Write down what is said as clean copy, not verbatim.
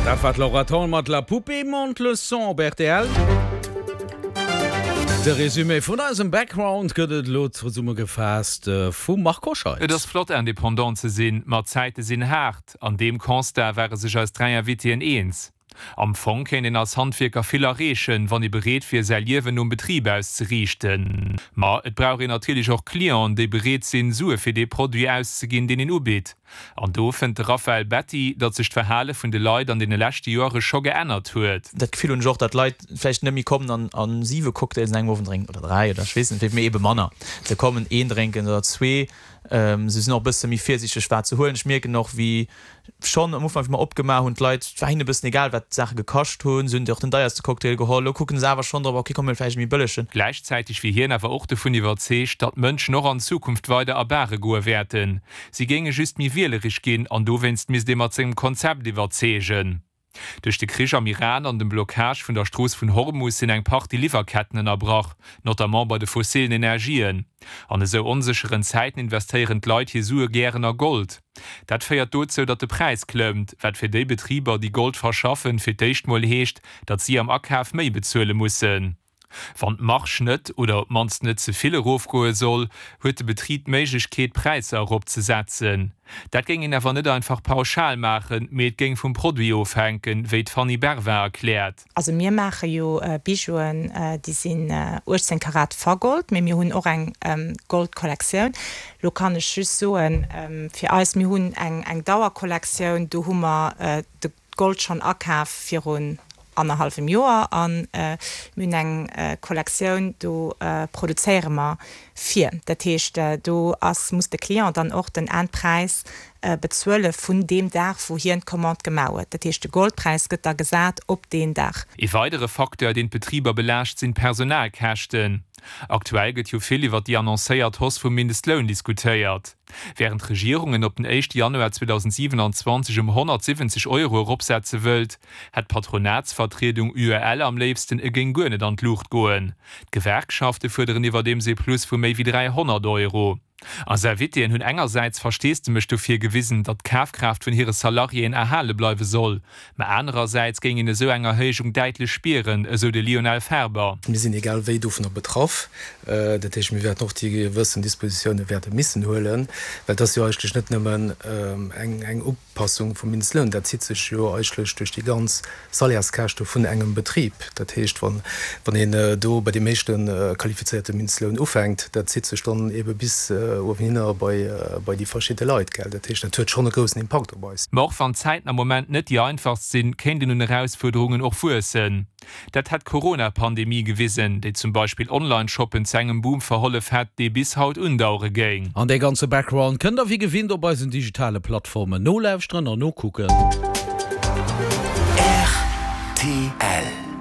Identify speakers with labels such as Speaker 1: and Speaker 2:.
Speaker 1: Dat war d'Laura Thorn mat La poupée monte le son op rtl. De Résumé vun eisem Background gëtt et elo zesummegefaasst vum Marc Hoscheid.
Speaker 2: Et ass flott Indépendant ze sinn, ma d'Zäite sinn haart. An deem Constat ware sech eis 3 Invitéen eens. Am Fong kéint een als Handwierker vill erreechen, wann ee bereet wier säi Liewen nom Betrib auszeriichten. Ma et brauch een natierlech och Clienten, déi bereet sinn, Sue fir dee Produit auszeginn, deen een ubitt. An do fënnt de Raphaël Betti, datt sech d'Verhale vun de Leit an deene leschte Joere scho geännert huet.
Speaker 3: Dat Gefill hunn ech och, datt d'Leit vläicht net méi kommen an a siwe Cocktails an engem Owend drénken oder dräi oder ech weess net wéi, mee ebe manner. Se kommen een drénken oder zwee. Se sinn och e bësse méi virsiichteg wat se huelen. Ech mierken och, wéi Schonn am Ufank, wéi mer opgemaach hunn, d'Leit, et war hinnen e bëssen egal, wat d'Saache gekascht hunn. Se hunn och den deierste Cocktail geholl. Elo kucken se awer schonn drop, ok, komm mir huele vläicht e méi bëllegen.
Speaker 2: Gläichzäiteg wier hien awer och dovun iwwerzeegt, datt d'Mënschen och an Zukunft weider a Bare goe wäerten. Si géinge just méi wielereg ginn an dowéinst misst ee mat sengem Konzept iwwerzeegen. Duerch de Krich am Iran an dem Blockage vun der Strooss vun Hormus sinn eng Partie Liwwerketten ënnerbrach, notamment bei de fossilen Energien. An esou onsécheren Zäiten investéieren d'Leit hir Sue gären a Gold. Dat féiert dozou, datt de Präis klëmmt, wat fir déi Betriber, déi Gold verschaffen, fir d'éischt mol heescht, datt si am Akaf méi bezuele mussen. Wann d'Marge net oder op d'mannst net ze vill erofgoe soll, huet de Betrib d'Méiglechkeet, d'Präisser eropzesetzen. Dat géing een awer net einfach pauschal maachen, mee et géing vum Produit ofhänken, wéi d'Fanny Bervin erkläert.
Speaker 4: Also mir maache jo Bijouen, déi sinn 18 Karat vergold, mee mir hunn och eng Goldkollektioun. Lo kann ech just soen, fir eis, mir hunn eng Dauerkollektioun, do hu mer de Gold schonn akaf virun annerhallwem Joer a mir hunn eng Kollektioun, do produzéiere mer vir. Dat heescht, do ass, muss de Client dann och den Endpräis bezuele vun deem Dag, wou hien d'Commande gemaach huet. Dat heescht, de Goldpräis gëtt da gesat op deen Dag.
Speaker 2: Ee weidere Facteur, deen d'Betriber belaascht, sinn d'Personalkäschten. Aktuell gëtt jo vill iwwer déi annoncéiert Hausse vum Mindestloun diskutéiert. Wärend d'Regierung en op den éischte Januar 2027 ëm 170 Euro eropsetze wëllt, hätt d'Patronatsvertriedung UEL am léifsten, e géing guer net an d'Luucht goen. D'Gewerkschafte fuerderen iwwerdeems ee Plus vu méi wéi 300 Euro. Eis Invitéen hunn engersäits Versteesdemech dofir gewisen, datt d'Kafkraaft vun hire Salariéen erhale bleiwe soll, Mä anerersäits géing een esou eng Erhéijung däitlech spieren, esou de Lionel Ferber.
Speaker 5: Mir sinn egal wéi dovunner betraff. Dat heescht, mir wäerten och déi gewëssen Dispositioune wäerte missen huelen, well et ass jo eigentlech net nëmmen eng Upassung vum Mindestloun, dat zitt sech jo eigentlech duerch déi ganz Salaires-Käschte vun engem Betrib. Dat heescht, wann een do bei deem éischte qualifizéierte Mindestloun ufänkt, dat zitt sech dann eebe bis uewenhinner bei déi verschidde Leit, gell. Dat heescht, dat huet schonn e groussen Impakt op eis.
Speaker 2: Ma och wann d'Zäiten am Moment net déi einfachst sinn, kéint een un Erausfuerderungen och wuessen. Dat hätt d'Corona-Pandemie gewisen, déi zum Beispill Online-Shoppen zu engem Boom verhollef hätt, dee bis haut undauere géing.
Speaker 1: An dee ganze Background kënnt der wéi gewinnt op eisen digitale Plattformen nolauschteren an nokucken.
Speaker 6: Rtl.